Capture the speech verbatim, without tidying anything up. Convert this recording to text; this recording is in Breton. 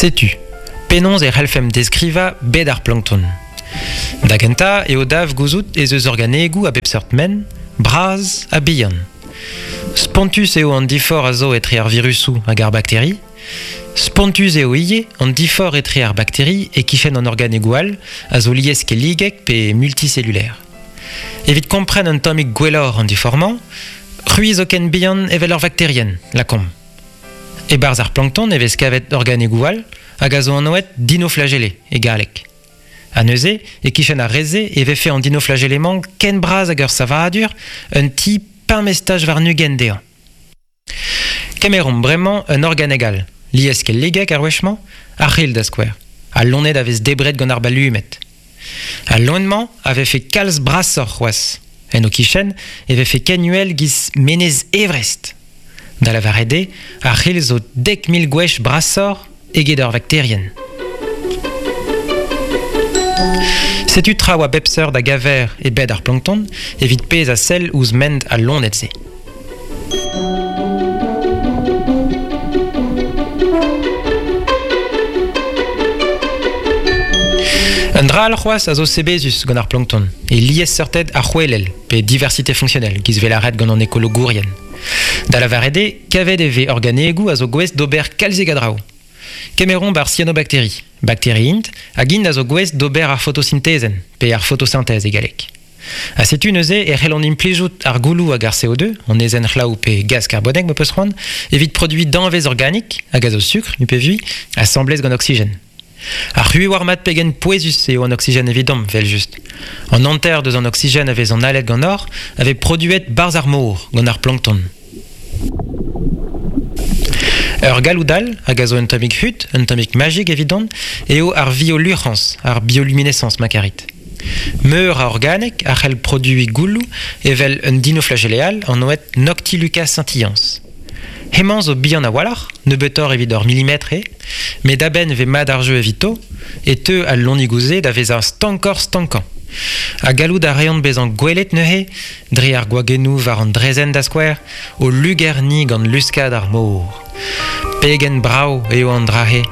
Setu, penaos e c'hellfemp deskrivañ bed ar plankton. Da gentañ eo dav gouzout ez eus organegoù a bep seurt ment, bras ha bihan. Spontus eo an diforc'h a zo etre ar virusoù hag ar bakteri. Spontus eo ivez an diforc'h etre ar bakteri e-kichen an organegoù all a zo lieskelligek pe multicellulaire. Evit kompren un tammig gwelloc'h an diforc'h-mañ, c'hwi zo ken bihan evel ur vakterienn, lakaomp. E-barzh ar plankton e vez kavet organegoù all hag a zo anvet dinoflagellé e galleg. Ha neuze, e-kichen ar re-se e vefe an dinoflagellé-mañ ken bras hag ur savadur, un ti pemp estaj warn-ugent dezhañ. Kemeromp bremañ un organeg all, lieskelligek ar wech-mañ, ar c'hrilh da skouer, al loened a vez debret gant ar balumed. Al loen-mañ a vefe kalz brasoc'h c'hoazh. En ho kichen e vefe ken uhel giz menez Everest. Da lavaret eo, ar c'hrilh zo dek mil gwech brasoc'h eget ur vakterienn. Setu traoù a bep seurt a gaver e bed ar plankton evit pezh a sell ouzh ment al loened-se. Un dra all c'hoazh a zo sebezus gant ar plankton, e liesseurted arc'hwelel pe diversité fonctionnelle giz 'vez lâret gant an ekologourien. Da lavaret eo, kavet e vez organegoù a zo gouest d'ober kalzik a draoù. Kemeromp ar cyanobakteri, bakteri int, hag int a zo gouest d'ober ar fotosintezenn, pe ar photosynthèse e galleg. Ha setu neuze e c'hellont implijout ar gouloù hag ar C O deux, an aezhenn c'hlaou pe gaz karbonek ma peus c'hoant, evit produiñ danvez organik, hag a zo sukr, nu pe vui, asambles gant oksigen. Ar c'hwi war mat pegen pouezus eo an oksigen evidomp, vel just. An hanter deus an oksigen a vez an alet gant or, a vez produet barzh ar mor, gant ar plankton. Ur galloud all, hag a zo un tammig hud, un tammig magic evidon, eo ar bioluc'hañs, ar bioluminescence ma karit. Meur a organek a c'hell produiñ gouloù evel un dinoflagellé all anvet Noctiluca scintillans. Hemañ zo bihan a-walc'h, nebeutoc'h evit ur milimetr eo, met a-benn 'vez mat ar jeu evito, e teu al loenigoù-se da vezañ stankoc'h stankañ. Ha gallout a reont bezañ gwelet neuze, dre ar gwagennoù war an draezhenn da skouer, o lugerniñ gant luskad ar mor. Pegen brav eo an dra-se.